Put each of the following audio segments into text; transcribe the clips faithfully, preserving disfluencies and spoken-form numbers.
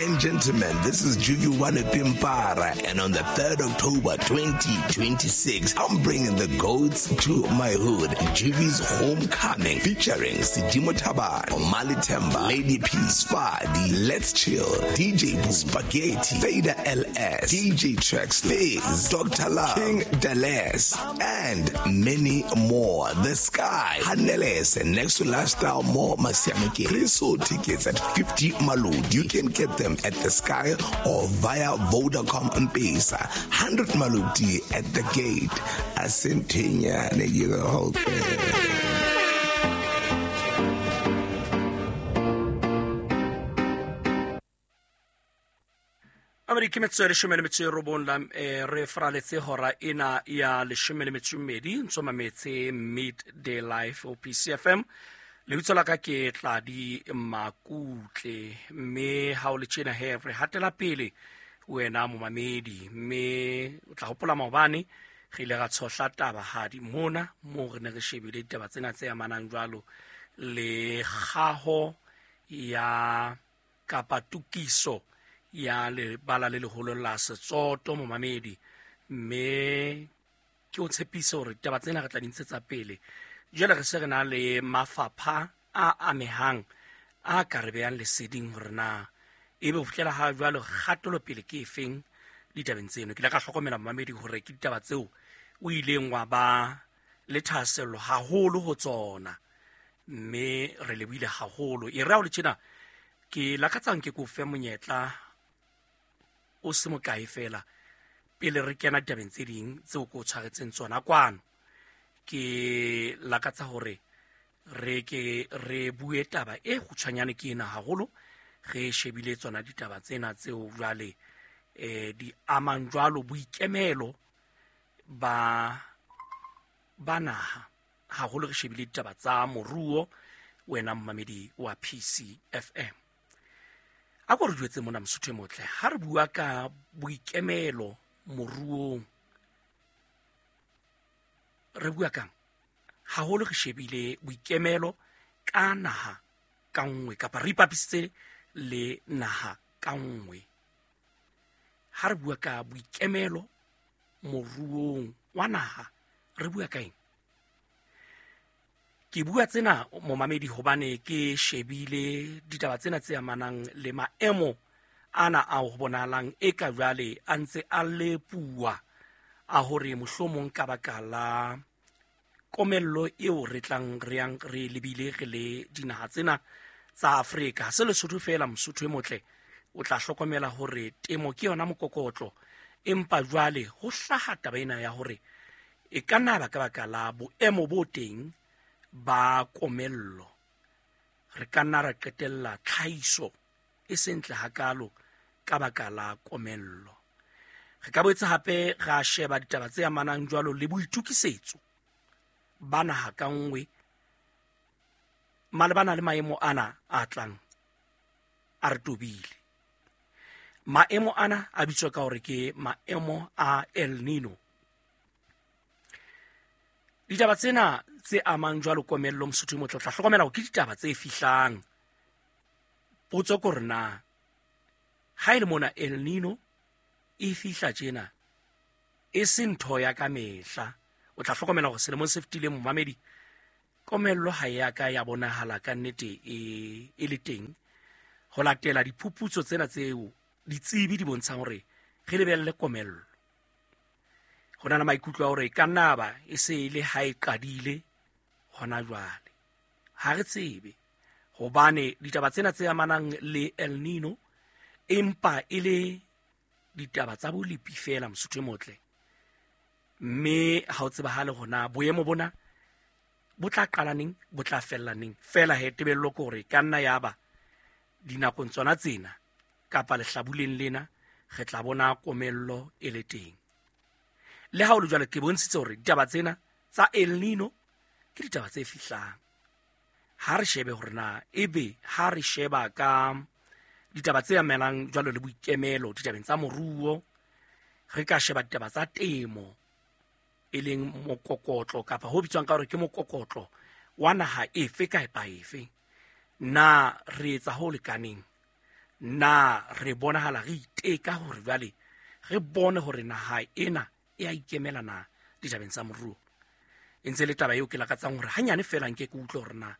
and gentlemen, this is Juju Wane Pimpara, and on the third of October twenty twenty-six, I'm bringing the goats to my hood. Juvi's Homecoming, featuring Sidimo Taban, Omali Temba, Lady P, Sfadi, Let's Chill, D J Boo, Spaghetti, Fader L S, D J Trex, Fizz, Doctor Love, King Dales, and many more. The Sky, Haneles, and next to Lifestyle More Masiamike. Pre-sold tickets at fifty Maludi. You can get them at the Sky or via Vodacom and Pesa. one hundred Maludi at the gate. Asentinya ne the whole thing. Amerika metso e leshome le metso e robong la eh, re fraletse hora ena ya leshome le metso e mmedi ntso mametse Midday Life O P C F M. Lebitso la ka ke Tladi Makutle, mme ha o le tjena he re hatela pele wena momamedi, mme o tla hopola maobane re ile ra tshohla taba hadi mona mo re ne re shebile ditaba tsena tse amanang jwalo le kgaho ya kapa tokiso ya lebala le leholo la Setsoto momamedi, mme ke o tshepise hore ditaba tsena re tla di ntshetsa pele. Jwale re se re na le mafapha a amehang a ka re behang leseding hore na ebe ho fihlela ha jwalo kgatelopele ke efeng ditabeng tseno. Ke ile ka hlokomela momamedi hore ke ditaba tseo o ileng wa ba le thahasello haholo ho tsona, mme re lebohile haholo. E re ha o le tjena ke lakatsang ke ko fe monyetla o se mokae fela pele re kena ditabeng tse ding tseo ko tshwaretseng tsona kwano. Ke lakatsa hore re ke re bue taba e kgutshwanyane ke ena haholo, re shebile tsona ditaba tsena tseo jwale eh di amang jwalo boikemelo ba ba naha haholo, re shebile ditaba tsa moruo wena mmamedi wa P C F M. A ko re jwetse mona Mosotho e motle, ha re bua ka boikemelo moruong re bua kang haholo? Re shebile boikemelo ka naha ka nngwe kapa re ipapisitse le naha ka nngwe. Ha re bua ka boikemelo moruong wa naha re bua ka eng? Ke bua tsena momamedi hobane ke shebile ditaba tsena tse amanang le maemo ana a ho bonahalang e ka jwale a ntse a lepuwa a hore mohlomong ka baka la komello eo re tlang re yang re lebile re le dinaha tsena tsa Afrika. Ha se Lesotho feela Mosotho e motle, o tla hlokomela hore temo ke yona mokokotlo, empa jwale ho hlaha taba ena ya hore e ka nna ba ka baka la boemo bo teng ba komello re ka nna ra qetella tlhahiso e sentle hakalo ka baka la komello. Re ka boetse hape ra sheba ditaba tse amanang jwalo le boitukisetso ba naha ka nngwe malebana le maemo ana a tlang a re tobile. Maemo ana a bitswa ka hore ke maemo a El Nino. Ditaba tsena tse amang jwalo komello Mosotho e motle, o tla hlokomela hore ke ditaba tse fihlang. Potso ke hore na ha e le mona El Nino e fihla tjena e se ntho ya ka mehla, o tla hlokomela hore selemong se fetileng momamedi komello ha ya ka ya bonahala ka nnete e e le teng ho latela diphuputso tsena tseo ditsebi di bontshang hore re lebelle komello. Ho na le maikutlo a hore e ka nna ba e se e le ha e qadile hona jwale, ha re tsebe hobane ditaba tsena tse amanang le El Nino empa e le ditaba tsa bolepi fela Mosotho e motle, mme ha o tsebahale hona boemo bona bo tla qala neng bo tla fella neng. Fela he tebello ke hore ka nna ya ba dinakong tsona tsena kapa lehlabuleng lena re tla bona komello e le teng. Le ha o le jwalo ke bontshitse hore ditaba tsena tsa El Nino ke ditaba tse fihlang. Ha re shebe hore na ebe ha re sheba ka ditaba tse amelang jwalo le boikemelo ditabeng tsa moruo, re ka sheba ditaba tsa temo e leng mokokotlo kapa ho bitswang ka hore ke mokokotlo wa naha efe kapa efe, na re etsa ho lekaneng? Na re bonahala re iteka hore jwale re bone hore naha ena e a ikemela na ditabeng tsa moruo. E ntse le taba eo ke lakatsang hore hanyane fela nke ke utlwe hore na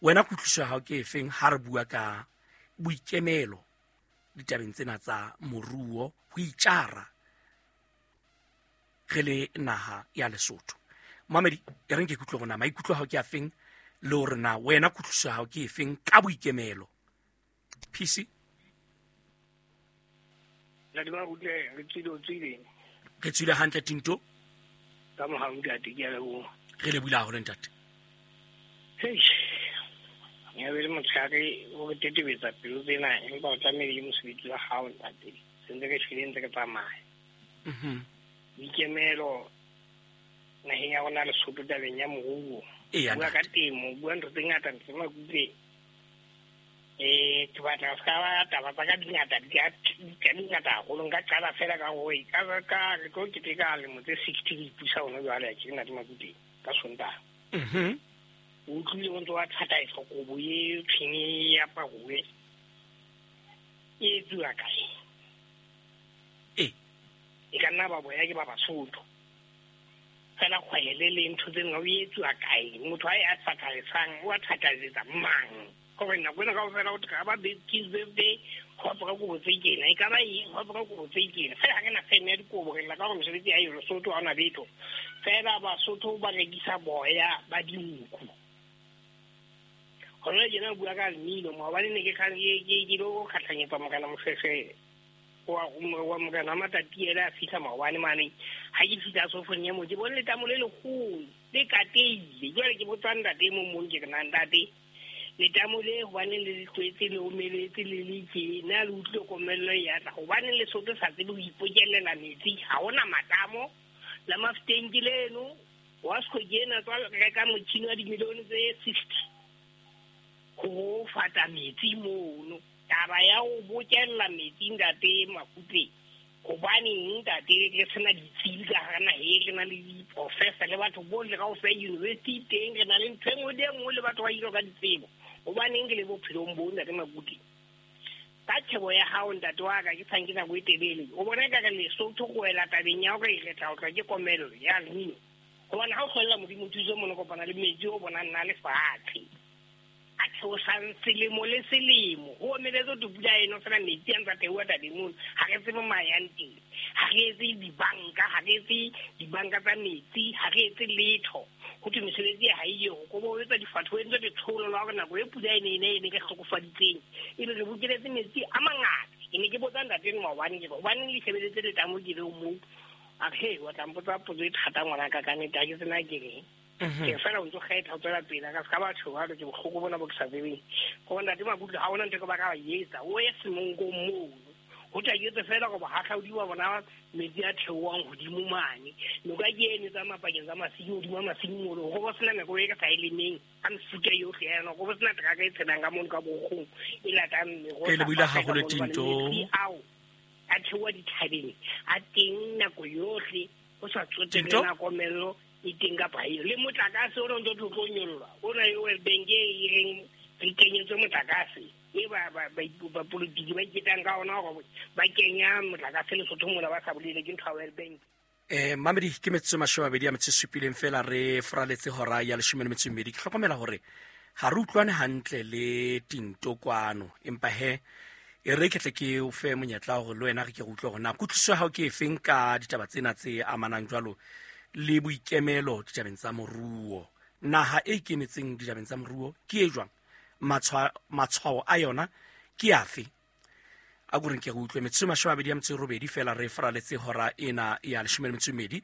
wena kutlwisiso ya hao ke efeng ha re bua ka boikemelo ditabeng tsena tsa moruo, ho itjara re le naha ya Lesotho. Mamedi, e reng ke kutlwe hore na maikutlo a hao ke afeng le hore na wena kutlwisiso ya hao ke efeng ka boikemelo. P C re tswile hantle Tinto. Ka mohau ntate, ke a leboha. Re lebohile haholo ntate. Hei, ya be le motshehare o re tetebetsa pelo tsena, empa o tlamehile ke mosebetsi wa hao ntate. Se ntse re shwele ntse re tsamaya. Mhm. Boikemelo naheng ya rona Lesotho tabeng ya moruo. Eya, Bua ka ntate. temo, bua ntho tse ngata ntse Makutle. Eh, ke batla se ka ba taba tsa ka di ngata, di ka di ngata haholo. Nka qala fela ka hore ka ka re tlo keteka lemo tse sixty re ipusa hona jwale, ha ke nna Makutle ka Sontaha. Mhm. O utlwile o ntse wa thataisa kobo e tshweng e aparuwe. E etsuwa kae? E. E ka nna ba boya ke ba Basotho. Fela kgwele le ntho tse nngwe o etsuwa kae? Motho a e advertisang, o advertisetsa mang? Hore nako ena kaofela ho ka ba kids birthday, ho apara kobo tse kena, e ka ba eng, ho apara kobo tse kena. Fela ha re na feme ya dikobo, re lla ka hore mesebetsi ha eyo Lesotho, ha hona letho. Fela Basotho ba rekisa boya ba dinku. Hona tjena bua ka mmino, maobane ne ke kgang ke, ke, ke lo kgahlanyetsa Morena Mofefe wa, wa Morena Matatiele a fihla maobane mane. Ha ke fihla sofong ya mo, ke bone letamo le leholo le kateile. Jwale ke botsa ntate e mong mong, ke re na ntate, letamo le hobaneng le le tlwetse le omeletse le le tje, na le utlwile komello e ya tla? Hobaneng Lesotho sa tsebe ho ipokellela metsi? Ha hona matamo. La Mafeteng ke leno, wa Sekgo ke ena tswa reka motjhini wa dimilione tse sixty ho fata metsi mono. Taba ya ho bokella metsi ntate Makutle, hobaneng ntate re sena ditsebi ka hara naha e, re na le di-professor le batho bohle kaofela university teng, re na le ntho e nngwe le e nngwe le batho ba ilo ka ditsebo. Hobaneng ke le bophelong bo ntate Makutle? Ka tjhebo ya hao ntate wa ka, ke sa nke nako e telele, o bona ekare Lesotho go wela tabeng ya hore re tla otlwa ke komello ya El Nino. Hobane ha o hlwella Modimo thuso mono kopana le metsi o bonang nna le fatshe a theosang selemo le selemo, ho omeletse ho pula eno fela metsi a ntsa theoha tabeng mono. Ha re tsebe mo a yang teng, ha re etse dibanka, ha re etse dibanka tsa metsi, ha re etse letho. Ho thwe mesebetsi ha e yo, ko bo etsa difatho, ho entswe letsholo la hore nako e pula e ne e ne e ne re hlokofaditseng, ebe re bokeletse metsi a mangata. Ke ne ke botsa ntate enwa maobane, ke re hobaneng le shebeletse letamo ke leo moo? A re, hei, wa tla mpotsa potso e thata ngwanaka ka nnete, ha ke tsena ke reng. Mhm. Ke fela o ntso kgetha ho tswela pele, ka ska batho ba ke bohloko bona bo ke sa tsebeng. Go ntate Makutle ha hona ntho e ke ba ka ba etsa, o ye semonkong mono. Ho tla ke etse fela go bahahlaodi ba bona metsi a theohang hodimo mane. Noka ke eno e tsamaya pakeng tsa masimo, hodimo a masimo mono. Ho bo sena nako e ka sa e lemeng ka mefuta yohle ya yona. Ho bo sena teraka e tshelang ka mono ka bokgong e latang meroho Ke lebohile tsa haholo, ka mono, hobane Tinto. metsi ao a theoha dithabeng, a teng nako yohle, ho sa tsotelle Tinto? na komello e teng kapa ha eyo. Le motlakase ona o ntso tlo nyollwa, ona e World Bank e reng re kenyetswe motlakase, e ba, ba, ba, ba politiki ba iketang ka ona hore ba kenya motlakase Lesotho mona ba sa bolele ke ntho ya World Bank. Eh, mamedi, ke metsotso e mashome a mabedi a metso e supileng fela re fraletse hora ya leshome le metso e mmedi. Ke hlokomela hore ha re utlwane hantle le Tinto kwano, empa he e re ke tle ke o fe monyetla hore le wena re ke re utlwe hore na kutlwisiso ya hao ke efeng ka ditaba tsena tse amanang jwalo le boikemelo ditabeng tsa moruo. Naha e ikemetseng ditabeng tsa moruo ke e jwang? Matshwa-, matshwao a yona ke afe? A ko reng ke re utlwe. Metsotso e mashome a mabedi a metso e robedi fela re fraletse hora ena ya leshome le metso e mmedi.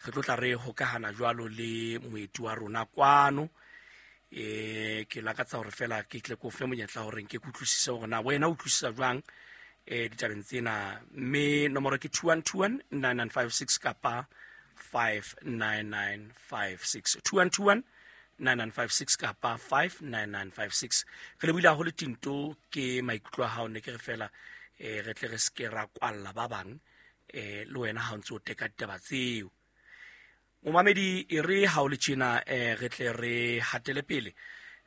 Re tlo tla re hokahana jwalo le moeti wa rona kwano. Eh, ke lakatsa hore fela ke tle ke o fe monyetla hore nke ke utlwisise hore na wena o utlwisisa jwang, eh, ditabeng tsena. Mme nomoro ke two one two one nine nine five six kapa five nine nine five six. Two one two one nine nine five six kapa five nine nine five six. Re lebohile haholo Tinto, ke maikutlo a hao, ne ke re fela, eh, re tle re se ke ra kwalla ba bang, eh, le wena ha o ntse o teka ditaba tseo. Momamedi, e re ha o le tjena, eh, re tle re hatele pele,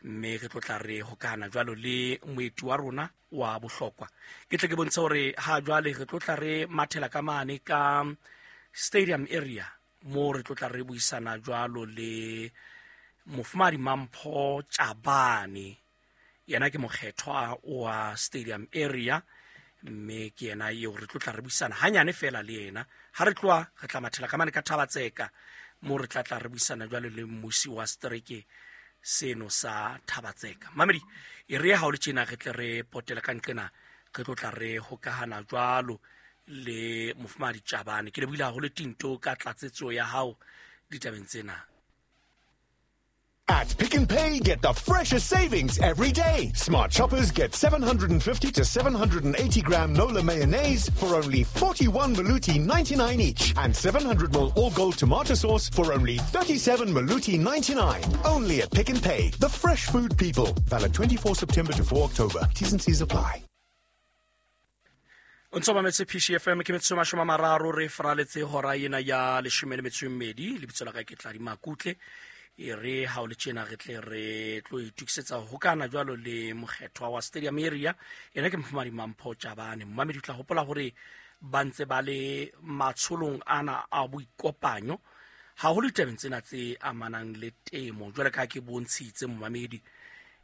mme re tlo tla re hokahana jwalo le moeti wa rona wa bohlokwa. Ke tle ke bontshe hore ha jwale re tlo tla re mathela ka mane ka stadium area mo re tlo tla re buisana jwalo le Mofumahadi Mampho Tjabane. Yena ke mokgethwa wa stadium area, mme ke yena eo re tlo tla re buisana hanyane fela le yena. Ha re tloha re tla mathela ka mane ka Thabatseka mo re tla tla re buisana jwalo le mmusi wa setereke seno sa Thabatseka. Mamedi, e re ha o le tjena re tle re potela ka nqena, re tlo tla re hokahana jwalo le Mofumahadi Tjabane. Ke lebohile haholo Tinto ka tlatsetso ya hao ditabeng tsena. At Pick n Pay, get the freshest savings every day. Smart shoppers get seven hundred fifty to seven hundred eighty gram Nola mayonnaise for only forty-one Maluti ninety-nine each, and seven hundred mil all gold tomato sauce for only thirty-seven Maluti ninety-nine. Only at Pick n Pay, the fresh food people. Valid twenty-four September to four October. T's and C's apply. O ntso mametse P C F M, ke metsotso e mashome a mararo re faraletse hora ena ya leshome le metso e mmedi. Lebitso la ka ke Tladi Makutle. E re ha o le tjena re tle re tlo itokisetsa ho hokana jwalo le mokgethwa wa stadium area. Yena ke Mofumahadi Mampho Tjabane. Mmamedi o tla hopola hore ba ntse ba le matsholong ana a boikopanyo haholo ditabeng tsena tse amanang le temo. Jwale ka ke bontshitse mmamedi,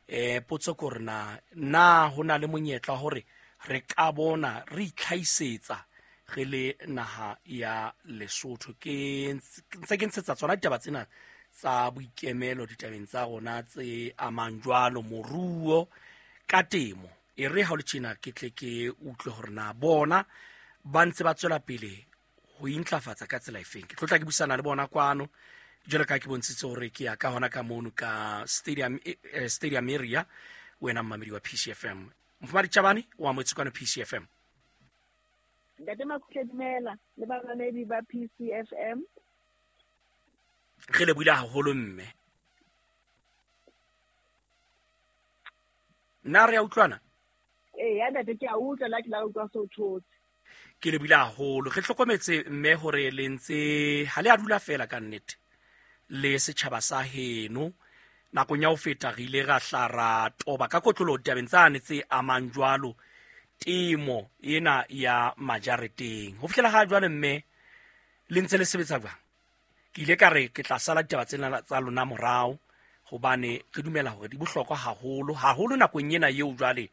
eh potso ke hore na na ho na le monyetla hore re ka bona re itlhahisetsa re le naha ya Lesotho. Ke ntse ke ntshetsa tsona ditaba tsena tsa boikemelo ditabeng tsa rona tse amang jwalo moruo ka temo. E re ha o le tjena ke tle ke utlwe hore na bona ba ntse ba tswela pele ho intlafatsa ka tsela efeng. Ke tlo tla ke buisana le bona kwano jwalo ka ke bontshitse hore ke ya ka hona ka mono ka stadium, eh, stadium area. Wena mmamedi wa P C F M, Mofumahadi Tjabane wa amohetswe kwano P C F M. Ntate Makutle, dumela le bamamedi ba P C F M. Re lebohile haholo mme. Na re a utlwana? Ee, ya ntate, ke a utlwa la ke la utlwa so thotse. Ke lebohile haholo. Re hlokometse mme hore le ntse ha le a dula fela ka nnete le setjhaba sa heno. Nakong ya ho feta re ile ra hla ra toba ka kotlolo ditabeng tsane tse amang jwalo temo ena ya majareteng. Ho fihlela ha jwale mme le ntse le sebetsa jwang? Ke ile ka re ke tla sala ditaba tsena tsa lona morao hobane re dumela hore di bohlokwa haholo haholo nakong ena eo jwale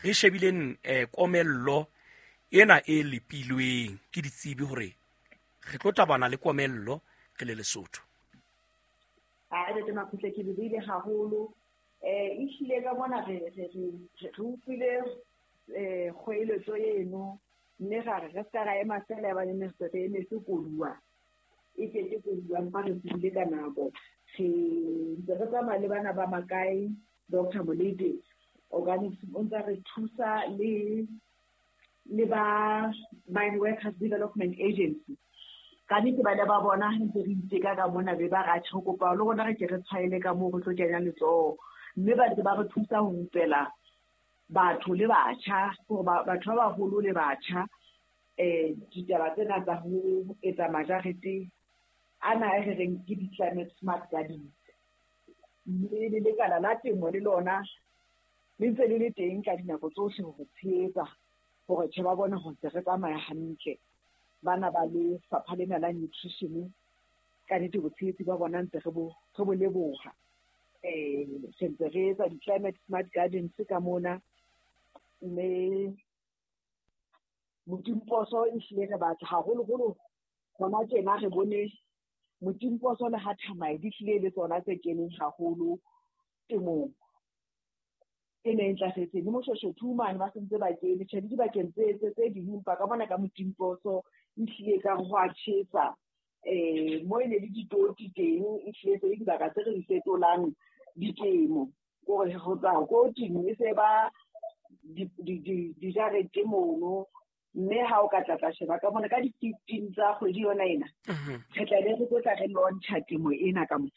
re shebileng eh, komello ena e lepilweng ke ditsebi hore re tlo tabana le komello re le Lesotho. Ha re tena Makutle, ke lebohile haholo. Eh ehlile ka mona re re re utlwile eh kgoeletso eno, mme ra re re ska ra ema fela ba ne re re emetse koduwa. E ke ke koduwa mpa re tsebile ka nako. Re ntse re tsamaya le bana ba makae, Doctor Molete Organics o ntse re thusa le le ba Mine Workers Development Agency. Ka nnete ba ne ba bona ntse re iteka ka mona be ba ra tjho kopa le rona re ke re tshwaele ka moo re tlo kenya letsoho, mme ba ntse ba re thusa ho rupela batho le batjha, hore batho ba baholo le batjha eh ditaba tsena tsa ho etsa majarete ana e re reng ke di-climate smart gardens. Mme le lekala la temo le lona le ntse le le teng ka dinako tsohle ho re tshehetsa hore tjhe ba bone hore ntse re tsamaya hantle. Bana ba lefapha lena la nutrition ka nnete botshehetsi ba bona ntse re bo re bo leboha. Eh re ntse re etsa di-climate smart gardens ka mona, mme Motimposo ehlile re batla haholoholo hona tjena re bone Motimposo le ha Thamae di hlile le tsona tse keneng haholo temong e ne e ntlafetseng. Le Moshweshwe mane ba sentse ba kene, tjhe le dibakeng tse tse tse ding, empa ka bona ka Motimposo ehlile ka ho a tjhesa. Eh mo e ne le ditoti teng, ehlile tse dibaka tse re di fetolang ditemo, hore ho tla ko teng e se ba di di dijarete mono. Mme ha o ka tla tla sheba ka mona ka di-fifteen tsa kgwedi yona ena, re tla be re tlo tla re launcha temo ena ka mona.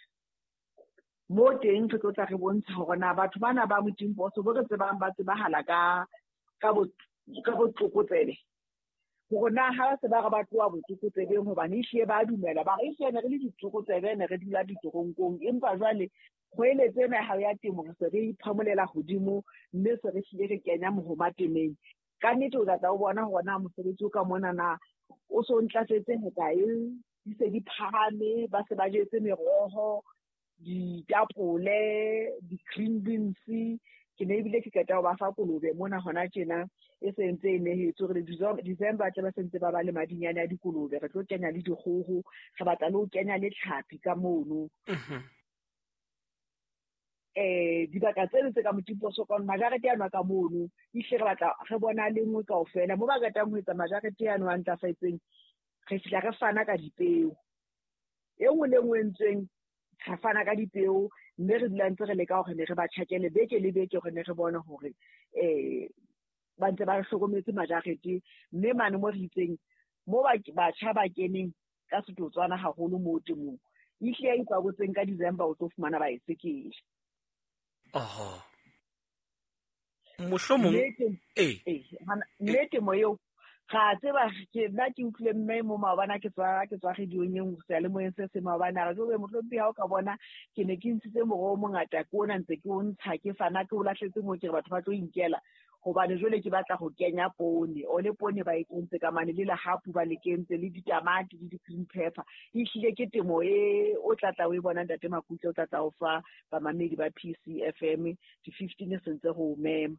Mo teng re tlo tla re bontsha hore na batho bana ba Motimposo bo re tsebang ba tsebahala ka ka bo ka botlokotsebe, hore na ha se ba re ba tloha botlokotsebeng, hobane ehlile ba dumela ba re ehlile ne re le ditlokotsebe, ne re dula ditoronkong, empa jwale Kgoeletso ena ya hao ya temo re se re iphamolela hodimo, mme se re hlile re kenya mohoma temeng. Ka nnete o tla tla o bona hore na mosebetsi o ka mona na o so ntlafetse hokae, di se di phahame, ba se ba jetse meroho, ditapole, di-green beans. Ke ne ebile ke qeta ho ba fa kolobe mona hona tjena e se ntse e nehetswe hore December tle ba sentse ba ba le madinyane a dikolobe. Re tlo kenya le dikgoho, re batla le ho kenya le tlhapi ka mono. Eh dibaka tseno tse ka Motimposo ka majarete ano a ka mono, ehlile re batla re bona le nngwe kaofela. Mo ba qetang ho etsa majarete ano a ntlafetseng, re fihla re fana ka dipeo. E nngwe le nngwe e entsweng, re fana ka dipeo, mme re dula ntse re leka hore ne re ba tjhakele beke le beke hore ne re bone hore eh ba ntse ba hlokometse majarete. Mme mane mo re itseng, mo batjha ba keneng ka setotswana haholo mo temong, ehlile ya ipabotseng ka December o tlo fumana baesekele. Oho. Mohlomong eh mme temo eo ga tseba ke nna ke utlwile mme mo maobane ke tswa ke tswa radiong e nngwe seyalemoyeng se se maobane a re jobe mohlompi ha o ka bona ke ne ke ntshitse moroho o mongata ke ona ntse ke o ntsha ke fana ke o lahletse moo ke re batho ba tlo inkela hobane jwale ke batla ho kenya poone. O le poone ba e kentse ka mane le lehapu ba le kentse le ditamati le di-green pepper. Ehlile ke temo e o tlatla o e bona ntate Makutle, o tlatla o fa bamamedi ba P C F M di-fifteen se ntse go mema.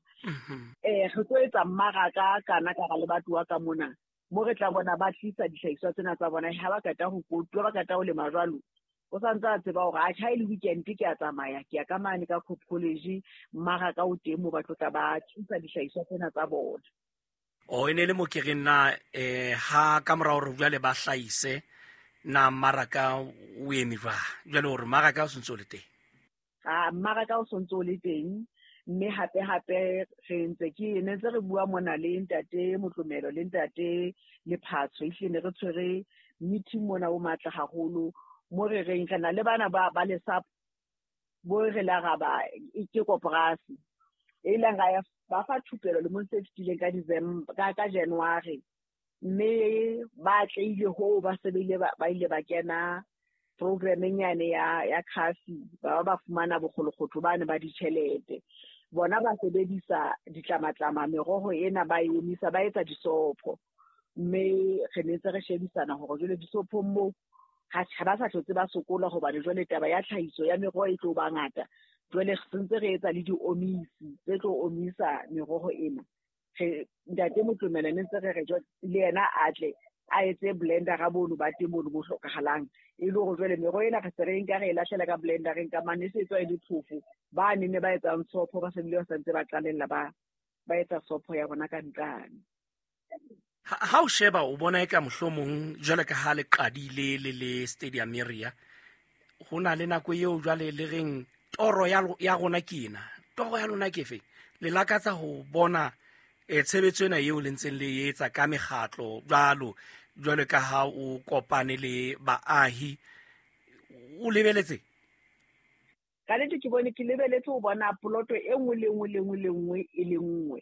Eh re tlo etsa mmaraka kana ka ga le batho ka mona mo re tla bona ba tlisa dihlahiswa tsena tsa bona ha ba qeta ho kotula, ba qeta ho lema jwalo. O santse a tseba hore atjha e le weekend ke a tsamaya ke ya ka mane ka Cope College, mmaraka o teng mo ba tlo tla ba tlisa dihlahiswa tsena tsa bona. O e ne le mo ke reng na eh ha ka mora hore jwale ba hlahise na mmaraka o eme jwang? Jwale hore mmaraka o sentse o le teng. Ah, mmaraka o sentse o le teng, mme hape hape re ntse ke ne ntse re bua mona le ntate Motlomelo le ntate Lephatso, ehlile ne re tshwere meeting mona o matla haholo. Mo re reng re na le bana ba ba lesapo bo re la ra ba ke koporasi e ileng ra ya ba fa thupelo lemong se fetileng ka December ka ka January, mme ba tleile ho ba sebile ba ba ile ba kena programmeng yane ya ya Khafi, ba ba fumana bokgolokgotho ba ne ba ditjhelete. Bona ba sebedisa ditlamatlama meroho ena ba e omisa ba etsa disopho, mme re ne ntse re shebisana hore jwale disophong moo ha ba sa hlotse ba sokola hobane jwale taba ya tlhahiso ya meroho e tlo ba ngata. Jwale re sentse re etsa le diomisi tse tlo omisa meroho ena. Re ntate Motlomela ne ntse re re jwale le yena a tle a etse blender ga bono ba teng mono bo hlokahalang, e le hore jwale meroho ena re se re nka re e lahlela ka blendereng ka mane e se etswa e le phofo. Ba ne ne ba etsang sopho ba se bile ba santse ba qalella ba ba etsa sopho ya bona ka ntlane. Ha o sheba o bona eka mohlomong jwale ka ha le qadile le le stadium area, ho na le nako eo jwale le reng toro ya ya rona ke ena, toro ya lona ke efe? Le lakatsa ho bona eh tshebetso ena eo le ntseng le etsa ka mekgatlo jwalo jwale ka ha o kopane le baahi, o lebeletse? Ka nnete ke bone ke lebeletse ho bona poloto e nngwe le nngwe le nngwe le nngwe e le nngwe.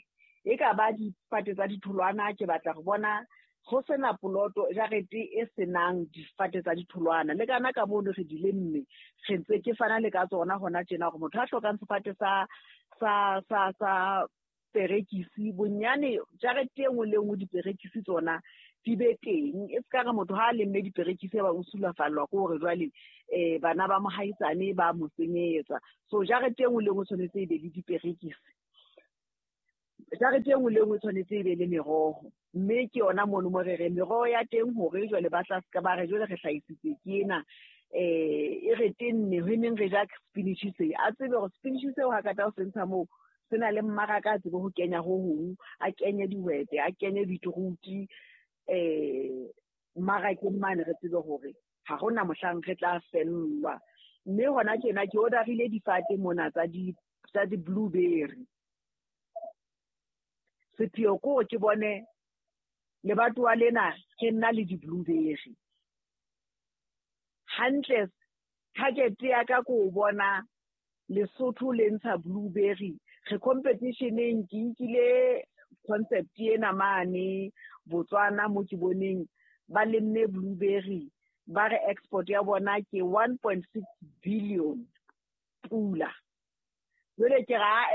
E ka ba difate tsa ditholwana, ke batla go bona go sena poloto jarete e senang difate tsa ditholwana. Le kana ka mono re di lemme, re ntse ke fana le ka tsona hona tjena hore motho a hlokang sefate sa sa sa sa perekisi bonyane jarete e nngwe le nngwe diperekisi tsona di be teng. E ska re motho ha a lemme diperekisi ba o sulafallwa ke hore jwale eh bana ba mohaisane ba mo senyetsa. So jarete e nngwe le nngwe tshwanetse e be le diperekisi. Jarete e nngwe le nngwe tshwanetse e be le meroho, mme ke yona mono mo re re meroho ya teng hore jwale ba tla ska ba re jwale re hlahisitse ke ena eh e re tenne ho neng re ja spinach se a tsebe hore spinach seo ha ka ta o se ntsha moo se na le mmaraka, a tsebe ho kenya ho hong, a kenye dihwete, a kenye beetroot eh mmarakeng mane, re tsebe hore ha hona mohlang re tla fellwa. Mme hona tjena ke orderile difate mona tsa di tsa di-blueberry. Sepheo ke hore ke bone lebatowa lena ke nna le di-blueberry hantle. Target ya ka ke ho bona Lesotho le ntsha blueberry. Re competition-eng, ke nkile concept ena mane Botswana mo ke boneng ba lemme blueberry, ba re export ya bona ke one point six billion Pula. Jwale ke ra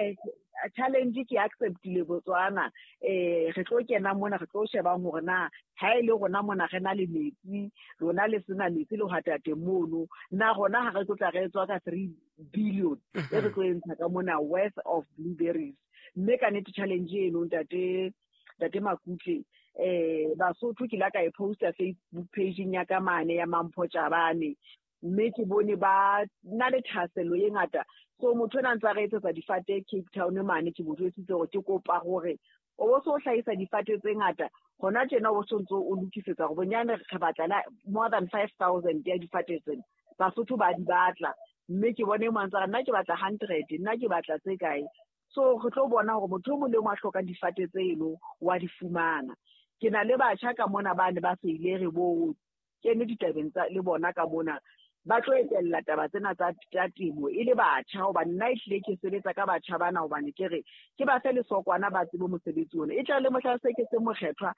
challenge ke acceptile Botswana, eh re tlo kena mona re tlo shebang hore na ha ile rona mona re na le metsi, rona le sena metsi le hwatate mono, na rona ha re tlo tla re tswa ka three billion e re tlo entsha ka mona worth of blueberries. Mme ka nnete challenge eno ntate ntate Makutle, eh Basotho ke la ka e posta Facebook page ya ka mane ya Mampho Chabane, mme ke bone ba na le thahasello e ngata. So motho ena ntse a re etsetsa difate Cape Town mane, ke mo jwetsitse hore ke kopa hore o bo so hlahisa difate tse ngata hona tjena, o so ntso o lokisetsa hore bonyane re batla la more than five thousand ya difate tsena, Basotho ba di batla. Mme ke bone mo ntse nna ke batla hundred, nna ke batla tse kae. So re tlo bona hore motho o mong le o mong a hlokang difate tseno wa di fumana. Ke na le batjha ka mona ba ne ba se ile re bo kene ditabeng tsa le bona ka mona, ba tlo etella taba tsena tsa tsa temo e le batjha, hobane nna ehlile ke sebetsa ka batjha bana, hobane ke re ke ba fe lesokwana ba tsebe mosebetsi ona, e tla le mohla se ke se mokgethwa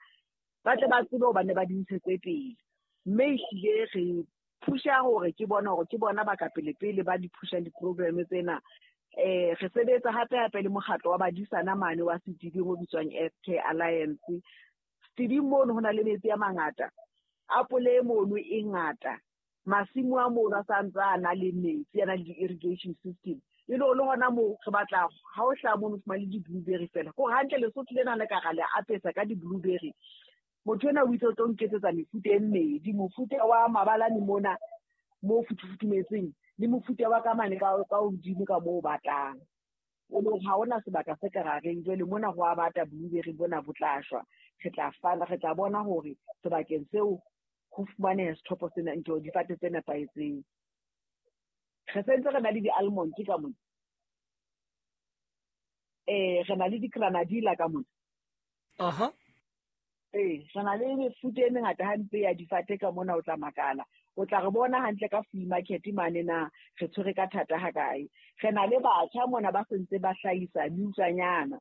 ba tle ba tsebe hobane ba di ntshetse pele. Mme ehlile re phusha hore ke bona hore ke bona ba ka pele pele ba di phusha di-program tsena. Eh re sebetsa hape hape le mokgatlo wa badisana mane wa Setibing o bitswang F K Alliance. Setibing mono ho na le metsi a mangata, apole mono e ngata, masimo a mono a sa ntse a na le metsi, a na le di-irrigation system. E le le hona moo re batla ha o hlaha mono o fumane di-blueberry fela. Ko hantle Lesotho lena le ka ra le apesa ka di-blueberry. Motho ena o itse o tlo nketsetsa mefuta e mmedi, mofuta wa mabalane mona mo futufutumetseng le mofuta wa ka mane ka ka hodimo ka moo o batlang. O le ha hona sebaka se ka rareng, jwale mona ho a bata blueberry bona bo tla shwa. Re tla fana, re tla bona hore sebakeng seo ho fumaneha sethopo sena, ntho difate tse nepahetseng. Re sentse re na le di-almond ka mona, eh re na le di-granadilla ka mona. Aha. Eh re na le mefuta e mengata hampe ya difate ka mona, o tla makala. O tla re bona hantle ka flea market mane na re tshwere ka thata ha kae. Re na le batjha mona ba sentse ba hlahisa meutlwanyana,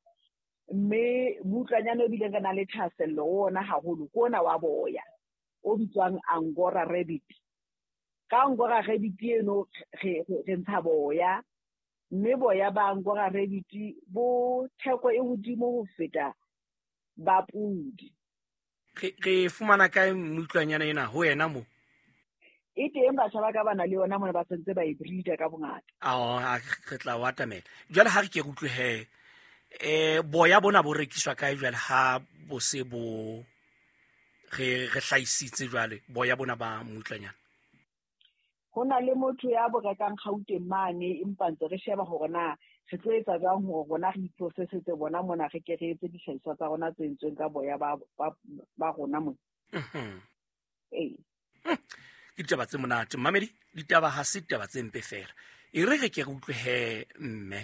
mme meutlwanyana o bileng re na le thahasello ona haholo ke ona wa boya o bitswang Angora rabbit. Ka Angora rabbit eno re re ntsha boya, mme boya ba Angora rabbit bo theko e hodimo ho feta ba pudi. Re re fumana kae meutlwanyana ena ho wena mo? E teng batjha ba ka ba na le yona mona, ba sentse ba e breeder ka bongata. Ao, re tla o atamela. Jwale ha re ke re utlwe he, eh boya bona bo rekiswa kae jwale ha bo se bo re re hlahisitse jwale boya bona ba meutlwanyana? Ho na le motho ya bo rekang Gauteng mane, empa ntse re sheba hore na re tlo etsa jwang hore rona re iprocessetse bona mona, re ke re etse dihlahiswa tsa rona tse entsweng ka boya ba ba ba rona mona. Mhm. Ee. Ke ditaba tse monate mmamedi, ditaba ha se ditaba tse mpe fela. E re re ke re utlwe he mme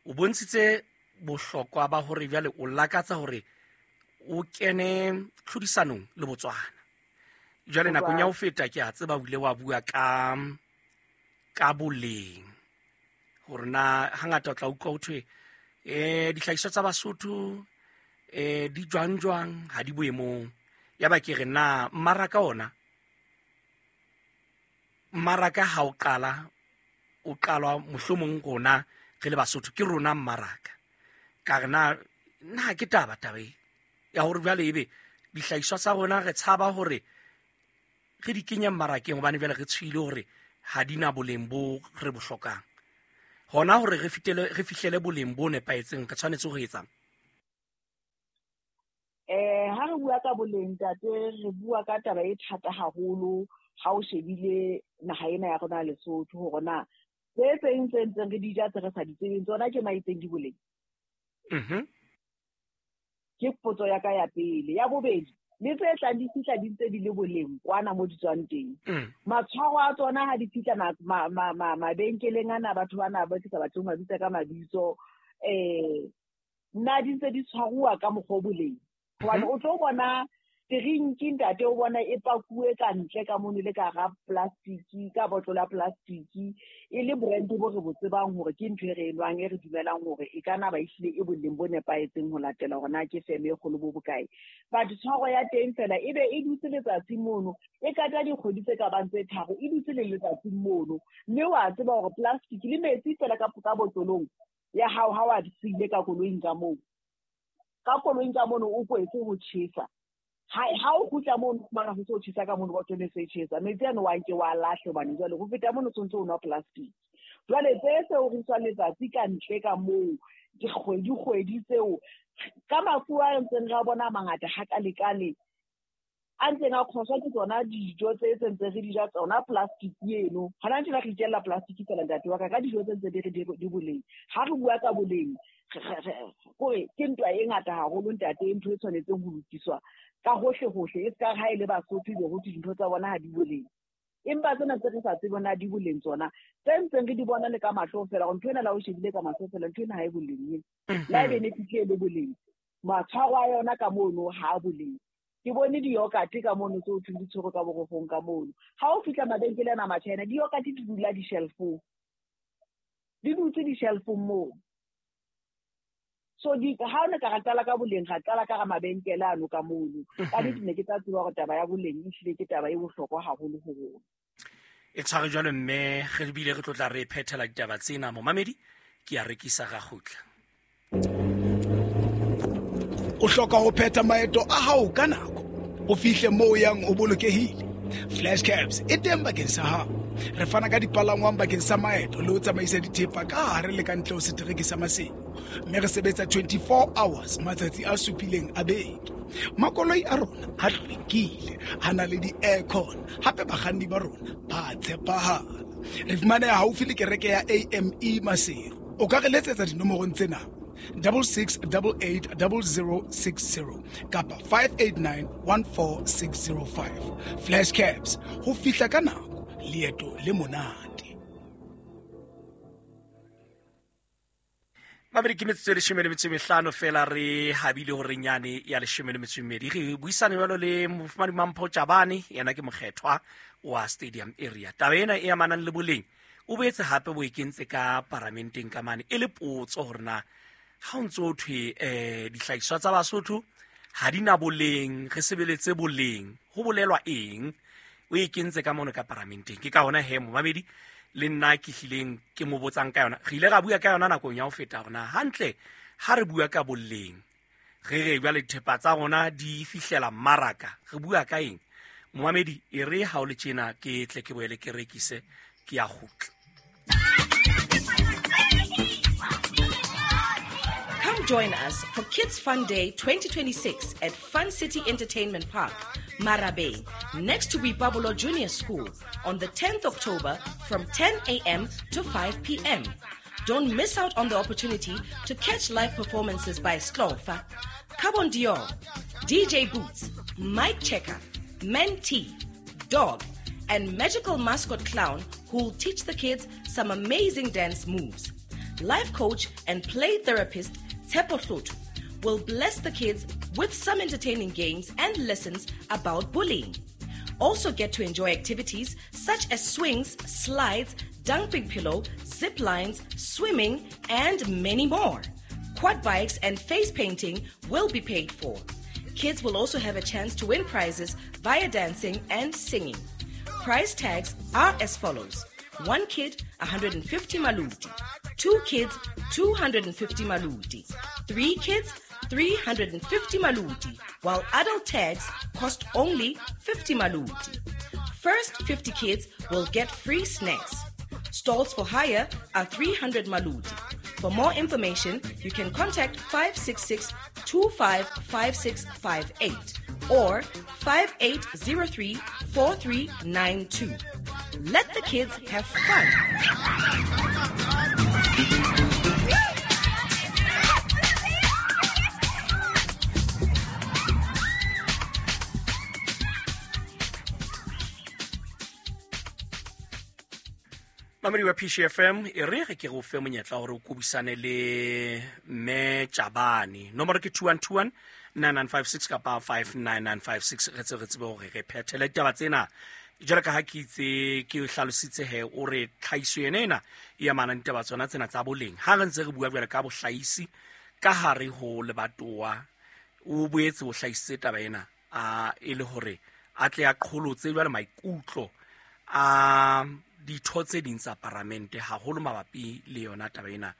o bontshitse bohlokwa ba hore jwale o lakatsa hore o kene tlhodisanong le Botswana. Jwale nakong ya ho feta ke a tseba o ile wa bua ka ka boleng, hore na hangata o tla utlwa ho thwe eh dihlahiswa tsa Basotho eh di jwang jwang ha di boemong. Ya ba ke re na mmaraka ona, mmaraka ha o qala o qalwa mohlomong rona re le Basotho ke rona mmaraka. Ka re na na ke taba taba e ya hore jwale ebe dihlahiswa tsa rona re tshaba hore re di kenye mmarakeng hobane jwale re tshwile hore ha di na boleng bo re bo hlokang. Hona hore re fitele re fihlele boleng bo nepahetseng re tshwanetse ho etsang? Eh ha re bua ka boleng ntate, re bua ka taba e thata haholo ha o shebile naha ena ya rona Lesotho, hore na tse tseng tse ntseng re di ja tse re sa di tsebeng tsona ke maitseng di boleng. Mhm. Ke potso ya ka ya pele. Ya bobedi, le tse tlang di fihla di ntse di le boleng kwana mo di tswang teng. Matshwaro a tsona ha di fihla mabenkeleng ana, batho bana ba ke sa batleng ho mabitsa ka mabitso, eh nna di ntse di tshwaruwa ka mokgwa o boleng. Hobane o tlo bona Drinki ntate o bona e pakuwe ka ntle ka mono le ka ga plastic ka botlola plastic e le brand bo re bo tsebang hore ke ntho e re enwang e re dumelang hore e kana ba ihlile e boleng bo nepahetseng ho latela hore na ke feme e kgolo bo bokae. But tshwaro ya teng fela e be e dutse letsatsi mono e kata dikgwedi tse ka bang tse tharo e dutse le letsatsi mono mme wa tseba hore plastic le metsi fela ka ka botlolong ya hao ha wa siile ka koloing ka moo ka koloing ka mono o kwetse ho tjhesa. Ha ha o kgutla mono o fumana ho se ho tjhesa ka mono botlolo e se e tjhesa metsi ano wa nke wa lahle hobane jwale ho feta mono o tshwanetse o nwa plastic. Jwale tse seo re iswa letsatsi ka ntle ka moo dikgwedi kgwedi tseo ka mafu a ntseng ra bona mangata hakalekale a ntseng a kgoswa ke tsona dijo tse sentse re di ja tsona plastic eno. Hona tjena re itjella plastic fela ntate wa ka ka dijo tse ntse di re di boleng. Ha re bua ka boleng kore ke ntwa e ngata haholo ntate, ntho e tshwanetseng ho lokiswa ka hohle hohle e ska ha ile Basotho be ho dintho tsa bona ha di boleng. Empa tsena tse re sa tsebeng na di boleng tsona tse ntseng re di bona le ka mahlo fela hore ntho ena la o shebile ka mahlo fela ntho ena ha e boleng la e benefit e le boleng matshwaro a yona ka mono ha a boleng. Ke bone di-yogurt ka mono tse o thweng di tshwerwe ka borofong ka mono. Ha o fihla mabenkele ana a Machina di-yogurt di dula di-shelf-ong di dutse di-shelf-ong moo. So di ha o ne ka qala ka boleng ga qala ka ga mabenkele ano ka mono ka di ne ke tla tseba hore taba ya boleng e hlile ke taba e bohlokwa haholo ho rona. E tshware jwalo mme re bile re tlotla re phethela ditaba tsena momamedi ke a rekisa ga kgutla. O hloka ho phetha maeto a hao ka nako o fihle moo yang o bolokehile. Flash Cabs e teng bakeng sa hao. Re fana ka dipalangwang bakeng sa maeto le ho tsamaisa dithepa ka hare le ka ntle ho setereke sa Maseru. Mme re sebetsa twenty-four hours matsatsi a supileng a beke. Makoloi a rona a hlwekile, a na le di-aircon, hape bakganni ba rona ba tshepahala. Re fumaneha haufi le kereke ya A M E Maseru. O ka re letsetsa dinomorong tsena: double six double eight double zero six zero kapa five eight nine one four six zero five. Flash Cabs, ho fihla ka nako, leeto le monate. Mabedi ke metsotso e leshome le metso e mehlano fela re habile hore nyane ya leshome le metso e mmedi. Re buisane jwalo le mofumadi Mampho Chabane, yena ke mokgethwa wa Stadium Area. Taba ena e amanang le boleng o boetse hape bo e kentse ka paramenteng ka mane e le potso hore na ha o ntso o thwe eh dihlahiswa tsa Basotho ha di na boleng, re sebeletse boleng, ho bolelwa eng? O e kentse ka mono ka paramenteng. Ke ka hona he momamedi le nna ke hlileng ke mo botsang ka yona. Re ile ra bua ka yona nakong ya ho feta hore na hantle ha re bua ka boleng re re jwale dithepa tsa rona di fihlela mmaraka, re bua ka eng? Momamedi e re ha o le tjena ke tle ke boele ke rekise ke ya kgutla. Come join us for Kids Fun Day twenty twenty-six at Fun City Entertainment Park, Marabeng, next to Boipabolo Junior School on the tenth October from ten a.m. to five p.m. Don't miss out on the opportunity to catch live performances by Sklofa, Carbon Dior, D J Boots, Mike Checker, Mentee, Dog, and magical mascot clown who'll teach the kids some amazing dance moves. Life coach and play therapist Tshepo Hloto will bless the kids with some entertaining games and lessons about bullying. Also get to enjoy activities such as swings, slides, dumping pillow, zip lines, swimming, and many more. Quad bikes and face painting will be paid for. Kids will also have a chance to win prizes via dancing and singing. Prize tags are as follows. One kid, one hundred fifty maluti. Two kids, two hundred fifty maluti. Three kids, three hundred fifty maluti, while adult tags cost only fifty maluti. First fifty kids will get free snacks. Stalls for hire are three hundred maluti. For more information, you can contact five six six, two five five six five eight or five eight zero three, four three nine two. Let the kids have fun. Mamedi wa P C F M e re re ke go fe monyetla hore o kobisane le mme Chabane. Nomoro ke two one two one nine nine five six kapa five nine nine five six. Re tsebe re tsebe hore re phethele ditaba tsena. Jwalo ka ha ke itse ke hlalositse he o re tlhahiso yena ena e amana le ditaba tsona tsena tsa boleng. Ha re ntse re bua jwalo ka bohlahisi ka hare ho lebatowa, o boetse o hlahisitse taba ena a e le hore a tle a qholotse jwale maikutlo a ditho tse ding tsa paramente haholo mabapi le yona taba ena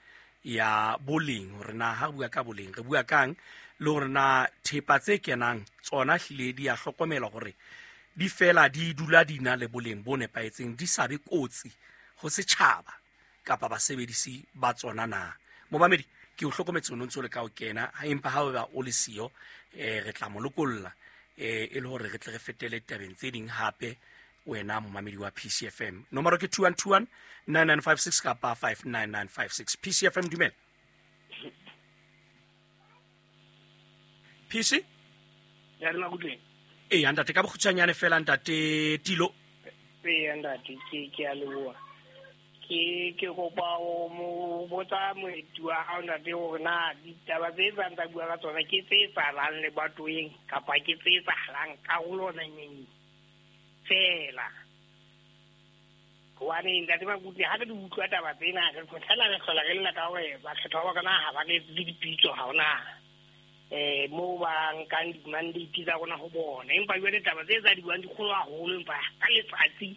ya boleng, hore na ha re bua ka boleng re bua kang, le hore na thepa tse kenang tsona hlile di a hlokomelwa hore di fela di dula di na le boleng bo nepahetseng, di sa be kotsi ho setjhaba kapa basebedisi ba tsona na. Momamedi ke o hlokometse o ntse o le ka o kena, empa ha o ba o le siyo eh re tla mo lokolla eh e le hore re tle re fetele tabeng tse ding hape. Wena momamedi wa P C F M, nomoro ke two one two one nine nine five six kapa five nine nine five six. P C F M, dumela. P C ya rena kutleng. Eh ntate ka bokgutshwanyane fela ntate Tilo. Eh ntate ke ke a leboha. Ke ke kopa o mo botsa moeti wa hao ntate hore na ditaba tse tsang tsa bua ka tsona ke tse etsahalang lebatoweng kapa ke tse etsahalang karolwaneng fela. Hobane ntate Makutle ha re di utlwa taba tsena re photela re hlola re lla ka hore bakgethwa ba rona ha ba re etse dipitso, ha hona eh moo ba nkang di-mandate tsa rona ho bona. Empa jwale taba tse tsa di buang di kgolo haholo, empa ka letsatsi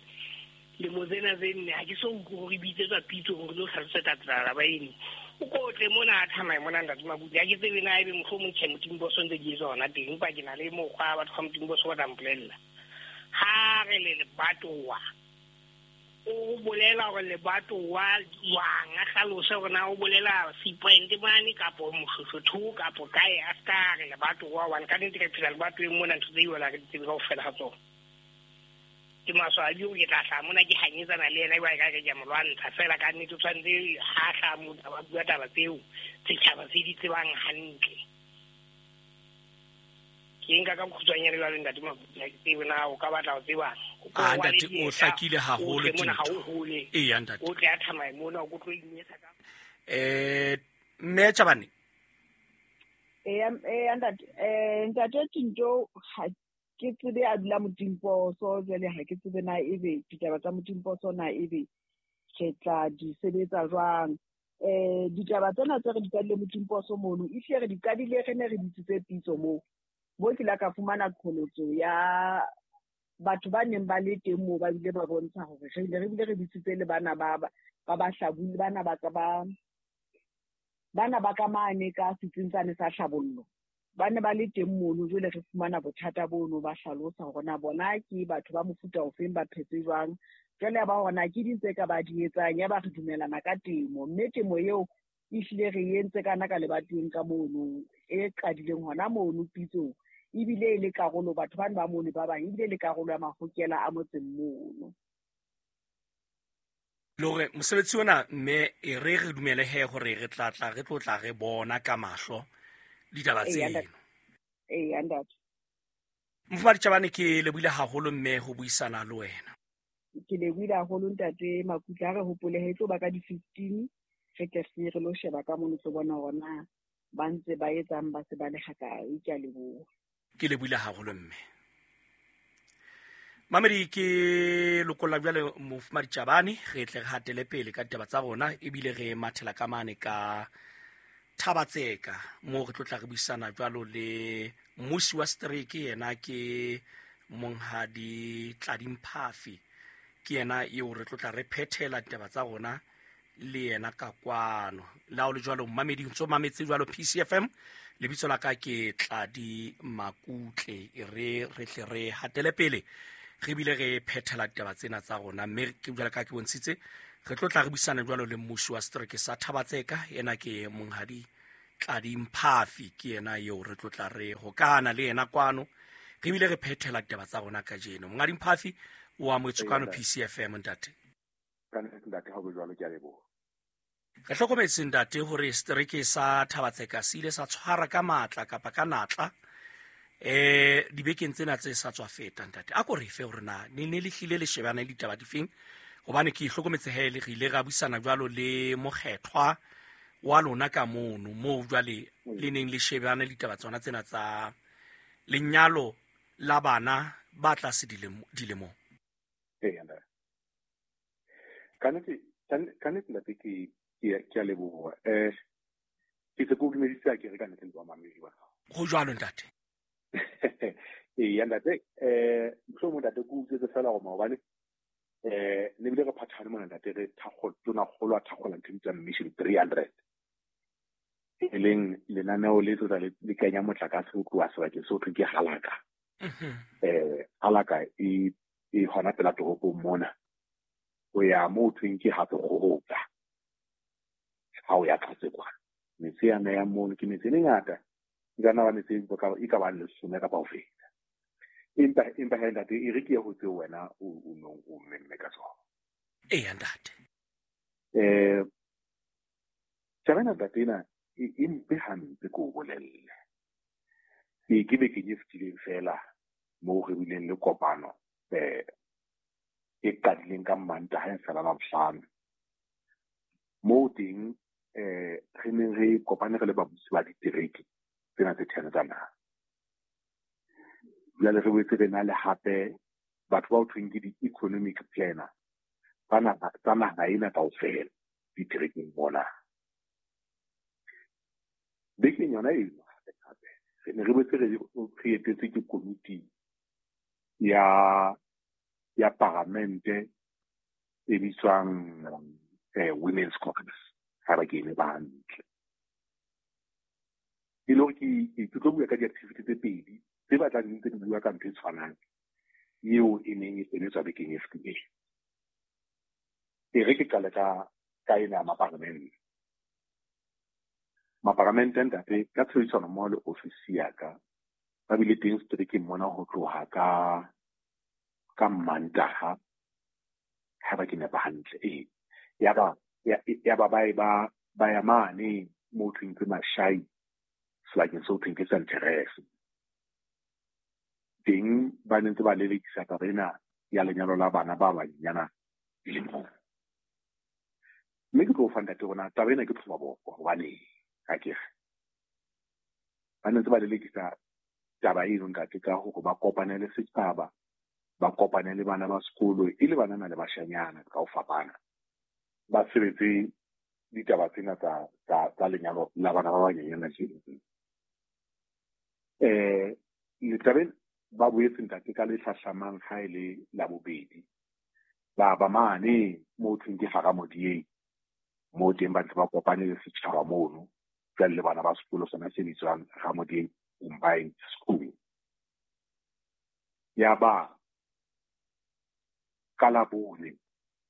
lemo tsena tse nne ha ke so utlwe hore bitsetswa pitso hore lo hlalosetsa taba eno. O kotle mona a thamaye mona ntate Makutle, ha ke tsebe na ebe mohlomong tjhe Motimboso ntse ke etswa hona teng, empa ke na le mokgwa wa batho ba Motimboso ba tla mpolella. Ha re le lebatowa, o bolela hore lebatowa jwang, a hlalose hore na o bolela Seapoint mane kapo Moshoshotho kapo kae, a ska re lebatowa hobane ka nnete re phela lebatoweng mona, ntho tse iwela re di tsebe kaofela ha tsona. Ke maswabi hore ke tla hlaha mona ke hanyetsana le yena jwale ka re ke a mo lwantsha fela, ka nnete o tshwanetse ha hlaha motho a bua taba tseo setjhaba se di tsebang hantle. Ke nka ka bokgutshwanyane jwale ntate Makutle, ha ke tsebe na o ka batla ho tseba. Ah ntate o hlakile haholo Tito. Eya ntate. O tle a thamaye mona o tlo inyetsa ka. Eh mme Chabane. Eh eh ntate eh ntate Tinto ha ke tsebe a dula Motimposo jwale, ha ke tsebe na ebe ditaba tsa Motimposo na ebe ke tla di sebetsa jwang. Eh ditaba tsena tse re di qadile Motimposo mono, ehlile re di qadile re ne re bitsitse pitso moo. Bo ke la ka fumana qholotso ya batho ba neng ba le teng moo, ba bile ba bontsha hore re ile re bile re bitsitse le bana ba ba ba hlabule, bana ba ka ba bana ba ka mane ka setsing tsane sa hlabollo, ba ne ba le teng mono. Jwale re fumana bothata bono, ba hlalosa hore na bona ke batho ba mofuta ofeng, ba phetse jwang. Jwale ba hore na ke ding tse ka ba di etsang, ya ba re dumelana ka temo, mme temo eo ehlile re entse kana ka lebatoweng ka mono e qadileng hona mono pitsong, ebile e le karolo batho bana ba mono ba bang, ebile le karolo ya mahokela a motseng mono. Le hore mosebetsi ona mme e re re dumele he hore re tla tla re tlo tla re bona ka mahlo ditaba tseno. Ee ntate. Mofumahadi Chabane ke lebohile haholo mme ho buisana le wena. Ke lebohile haholo ntate Makutle, ha re hopole he tlo ba ka di fifteen re tle re lo sheba ka mono tlo bona hore na ba ntse ba etsang, ba se ba le hakae. Ke a leboha. Ke lebohile haholo mme. Mamedi ke lokolla jwale Mofumahadi Chabane, re tle re hatele pele ka ditaba tsa rona, ebile re mathela ka mane ka Thabatseka moo re tlo tla re buisana jwalo le mmusi wa setereke, yena ke Monghadi Tladi Mphafi, ke yena eo re tlo tla re phethela ditaba tsa rona le yena ka kwano. Le ha o le jwalo mmamedi, ntso mametse jwalo P C F M, lebitso la ka ke Tladi Makutle, e re re tle re hatele pele re bile re phethela ditaba tsena tsa rona. Mme ke jwalo ka ke bontshitse, re tlo tla re buisana jwalo le mmusi wa setereke sa Thabatseka, yena ke Monghadi Tladi Mphafi, ke yena eo re tlo tla re hokana le yena kwano, re bile re phethela ditaba tsa rona kajeno. Monghadi Mphafi o amohetswe kwano P C F M ntate. Ka nnete ntate, ha o jwalo ke a leboha. Re hlokometse ntate hore setereke sa Thabatseka se ile sa tshwara ka matla kapa ka natla eh dibekeng tsena tse sa tswa feta ntate. A ko re fe hore na ne ne le hlile le shebana le ditaba difeng, Hobane ke hlokometse he le re ile ra buisana jwalo le mokgethwa wa lona ka mono moo jwale le neng le shebane ditaba tsona tsena tsa lenyalo la bana ba tlase dilemong. Ee, ntate. Ka nnete ka nnete ntate ke ke a leboha. Eh ke se ko dumedisa ke re ka nnete le ba mamedi ba hao. Ho jwalo ntate. Ee, ntate, eh mohlomong ntate ke utlwetse fela hore maobane eh ne bile re phathane mona ntate re thakgolo tona kgolo a thakgola ntho e bitswang Mission three hundred. E leng lenaneo le tlotla le kenya motlakase ho tloha sebakeng seo thweng ke Halaka. Eh Halaka e e hona pela toropong mona. Ho ya moo thweng ke hape kgoroka. Ha o ya tlase kwana. Metse ya ya mono ke metse e mengata. E ka nna ba metse e ka bang lesome kapa ho feta. Empa empa he ntate e re ke ye ho tseo wena o o nong o mmemme ka tsona. Ee, ntate. Eh taba ena ntate ena e mpe hampe ke o bolelle. Ke ke bekeng e fetileng fela moo re bileng le kopano eh e qadileng ka Mantaha e fela Labohlano. Moo teng eh re neng re kopane re le babusi ba ditereke tsena tse ten tsa naha. Jwale re boetse re na le hape batho ba ho thweng ke di-economic planner tsa naha tsa naha ena kaofela diterekeng mona. Bekeng yona eno hape hape re ne re boetse re re etetse ke komiti ya ya paramente e bitswang eh, Women's Caucus ha ba ke e ba hantle. E le hore ke ke tlo bua ka di-activity tse pedi tse batlang di ntse di bua ka ntho e tshwanang eo e neng e sebetswa bekeng e fetileng. E re ke qale ka ka ena ya maparamente. Maparamente ntate ka tshebedisano mmoho le ofisi ya ka ba bile teng seterekeng mona ho tloha ka ka Mantaha ha ba ke nepa hantle. Ee, ya ba ya ba ba ba ba ya mane moo thweng ke Mashai sebakeng seo thweng ke Saint Therese. Teng ba ne ntse ba lelekisa taba ena ya lenyalo la bana ba banyenyana dilemong. Mme ke tlo fa ntate rona taba ena ke tlhoba boko hobane ha ke re ba ne ntse ba lelekisa taba eno ntate ka hore ba kopane le setjhaba, ba kopane le bana ba sekolo e le banana le bashanyana ka ho fapana. Ba sebetse ditaba tsena tsa tsa tsa lenyalo la bana ba banyenyana tjena. Eh letabeng ba boetse ntate ka le hlahlamang ha e le Labobedi ba ba mane moo thweng ke Haramodieng moo teng ba ntse ba kopane le setjhaba mono jwale le bana ba sekolo sona se bitswang Ramodieng Combined School. Ya ba ka Labone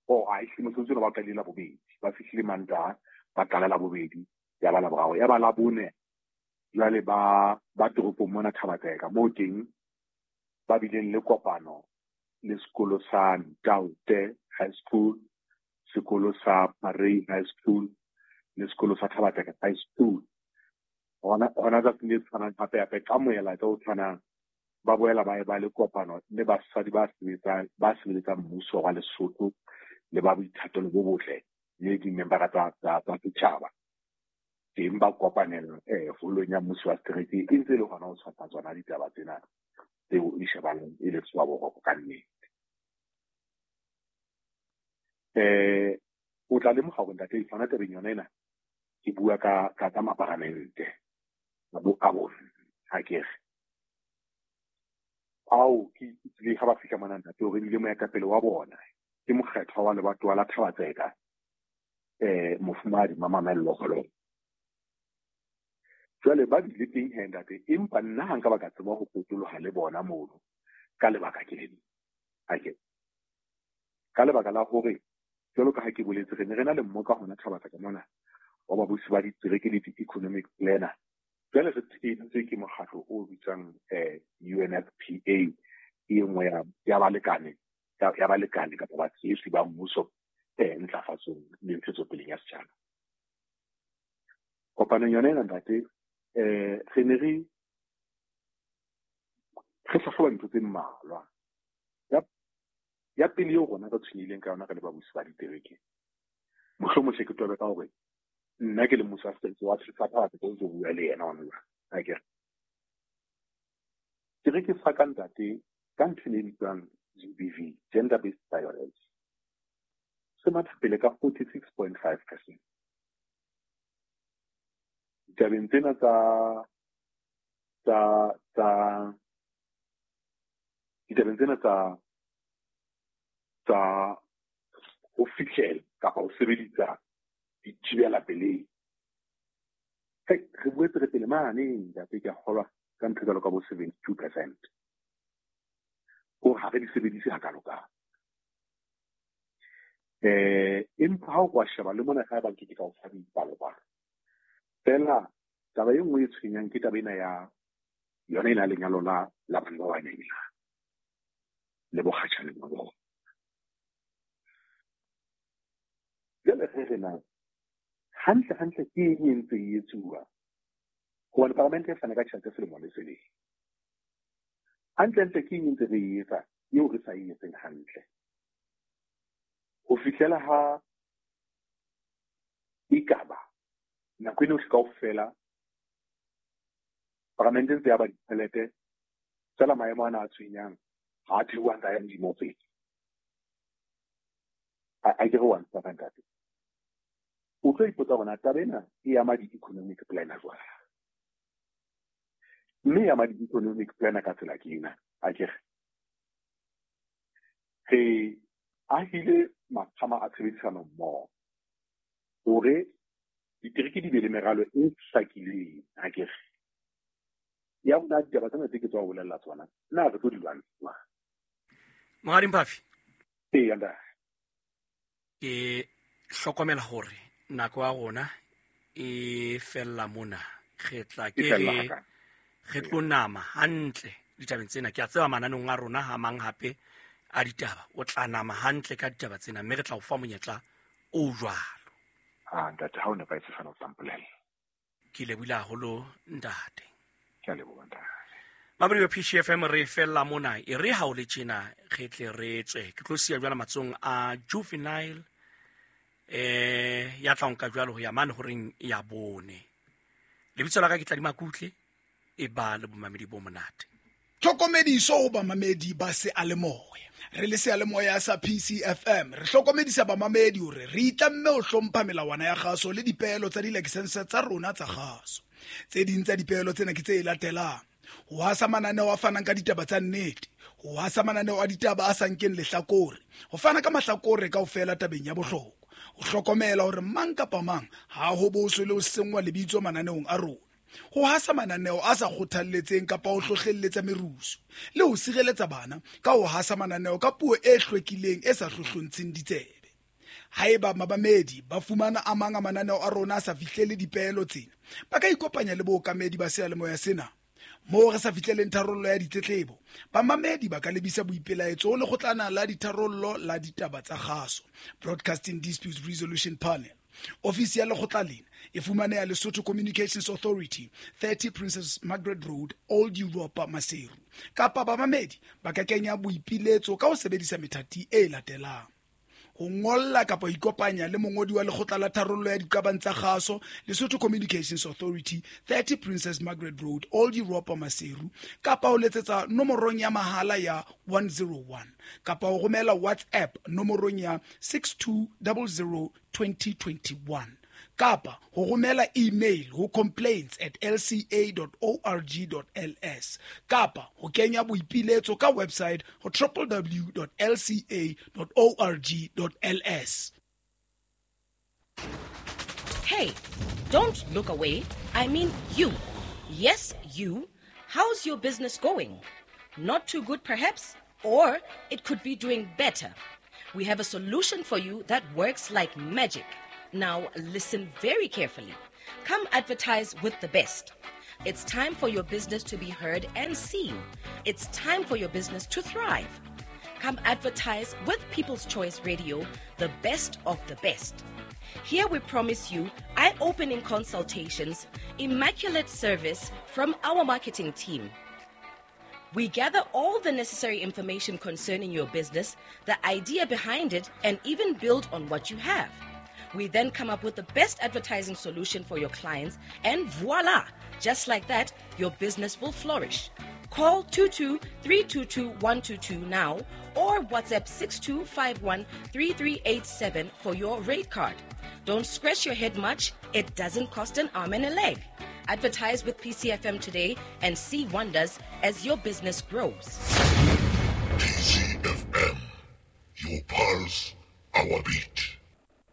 o a ehlile mosebetsi ona ba qadile Labobedi ba fihlile Mantaha ba qala Labobedi ya ba Laboraro ya ba Labone jwale ba ba toropong mona Thabatseka moo teng ba bileng le kopano le sekolo sa Ntaute High School, sekolo sa Parei High School le sekolo sa Thabatseka High School. Hona hona tsatsing le tshwanang hape hape ka moela o tshwanang ba boela ba e ba le kopano le basadi ba sebetsang ba sebeletsang mmuso wa Lesotho le ba boithatelo bo botle le dimembara tsa tsa tsa setjhaba. Teng ba kopanela eh holong ya mmuso wa setereke e ntse e le hona ho tshwasa tsona ditaba tsena tseo e shebaneng e le tswa boroko ka nnete. Eh o tla lemoha hore ntate hona tabeng yona ena ke bua ka ka tsa maparamente a bo a bona ha ke re ao ke tlile ha ba fihla mona ntate hore ebile moetapele wa bona ke mokgethwa wa lebatowa la Thabatseka eh mofumahadi Mamamello Kgololo. Jwale ba bile teng he ntate empa nna ha nka ba ka tseba ho potoloha le bona mono ka lebaka ke lena. Ha ke ka lebaka la hore jwalo ka ha ke boletse re ne re na le mmoka hona Thabatseka mona wa babusi ba ditereke le di-economic planner. Jwale re tsheheditswe ke mokgatlo o bitswang eh U N F P A e nngwe ya ya balekane ya balekane kapa batshehetsi ba mmuso eh ntlafatsong le ntshetsopeleng ya setjhaba. Kopanong yona ena ntate eh re ne re re hlahloba ntho tse mmalwa. Ya Ya pele eo rona re tshwenyehileng ka yona re le babusi ba ditereke, mohlomong hle ke tobe ka hore nna ke le mmusi wa setereke wa Thaba-Tseka o ntso bua le yena hona jwale, akere. Tereke sa ka ntate ka ntho e bitswang G B V, gender based violence, se matha pele ka forty-six point five percent. Ditabeng tsena tsa tsa tsa ditabeng tsena tsa tsa ho fihlela kapa ho sebedisa dithibela pelehi, re boetse re pele mane ntate, ke a kgolwa ka ntho jwalo ka bo seventy-two percent. Hore ha re di sebedise hakalo-kalo. Eh, empa ha o ka sheba le mona ha ba nke ke ka o fa dipalopalo. Fela taba e nngwe e tshwenyang ke taba ena ya yona ena lenyalo la la bana ba banyenyane le bokgatjhane ba bona. Jwale re re na hantle hantle ke eng e ntse e etsuwa? Hobane palamente e fana ka tjhelete selemo le selemo. Hantle hantle ke eng e ntse re e etsa eo re sa e etseng hantle? Ho fihlela ha ekaba nako eno kaofela palamente ntse ya ba ditjhelete fela maemo ana a tshwenyang ha a theoha a ya hodimo pele. A ke re wa ntsha ntate. O tlo ipotsa hore na taba ena e ama di-economic plan jwang? Mme e ama di-economic plan ka tsela ke ena, akere. Re ahile maqhama a tshebedisano mmoho hore ditereke di be le meralo e hlakileng, akere. Ya rona ditaba tsena tse ke tswa ho bolella tsona, na re tlo di lwantsha jwang? Monghadi Mphafi. Ee, ntate. Ke hlokomela hore nako ya rona e fella mona. Re tla ke re re tlo nama hantle ditabeng tsena. Ke a tseba mananeng a rona ha mang hape a ditaba o tla nama hantle ka ditaba tsena, mme re tla o fa monyetla o jwalo. Ah, ntate, ha o nepahetse fana o tla mpolella. Ke lebohile haholo ntate. Ke a leboha ntate. Mamedi wa P C F M re fella mona, e re ha o le tjena re tle re tswe. Ke tlo siya jwala matsohong a Juvenile eh ya tla nka jwalo ho ya mane horeng ya bone. Lebitso la ka ke Tladima Kutle, e ba le bomamedi bo monate. Tlhokomediso ho bamamedi ba seyalemoya. Re le seyalemoya sa P C F M re hlokomedisa bamamedi hore re itlamme ho hlompha melawana ya kgaso le dipeelo tsa dilakesense tsa rona tsa kgaso. Tse ding tsa dipeelo tsena ke tse latelang: ho hasa mananeo a fanang ka ditaba tsa nnete, ho hasa mananeo a ditaba a sa nkeng lehlakore, ho fana ka mahlakore kaofela tabeng ya bohlokwa, ho hlokomela hore mang kapa mang ha ho boswe le ho senngwa lebitso mananeong a rona, ho hasa mananeo a sa kgothalletseng kapa ho hlohlelletsa merusu, le ho sireletsa bana ka ho hasa mananeo ka puo e hlwekileng e sa hlohlontsheng ditsebe. Haeba mabamedi ba fumana a mang a mananeo a rona a sa fihlele dipeelo tsena, ba ka ikopanya le bookamedi ba seyalemoya sena. Moo re sa fihleleng tharollo ya ditletlebo, bamamedi ba ka lebisa boipelaetso ho lekgotlana la ditharollo la ditaba tsa kgaso, Broadcasting Disputes Resolution Panel. Ofisi ya lekgotla lena e fumaneha Lesotho Communications Authority, thirty Princess Margaret Road, Old Europa, Maseru. Kapa bamamedi ba ka kenya boipiletso ka ho sebedisa methati e latelang: ho ngolla kapa ho ikopanya le mongodi wa lekgotla la tharollo ya diqabang tsa kgaso, Lesotho Communications Authority, thirty Princess Margaret Road, Old Europa, Maseru, kapa ho letsetsa nomorong ya mahala ya one zero one, kapa ho romela WhatsApp nomorong ya six two zero zero twenty twenty-one, kapa ho romela email ho complaints at l c a dot org dot l s, kapa ho kenya boipiletso ka website ho w w w dot l c a dot org dot l s. Hey, don't look away. I mean you. Yes, you. How's your business going? Not too good perhaps, or it could be doing better. We have a solution for you that works like magic. Now listen very carefully. Come advertise with the best. It's time for your business to be heard and seen. It's time for your business to thrive. Come advertise with People's Choice Radio, the best of the best. Here we promise you eye-opening consultations, immaculate service from our marketing team. We gather all the necessary information concerning your business, the idea behind it, and even build on what you have. We then come up with the best advertising solution for your clients, and voila! Just like that, your business will flourish. Call two two three two two one two two now or WhatsApp six two five one three three eight seven for your rate card. Don't scratch your head much, it doesn't cost an arm and a leg. Advertise with P C F M today and see wonders as your business grows. P C F M, your pulse, our beat.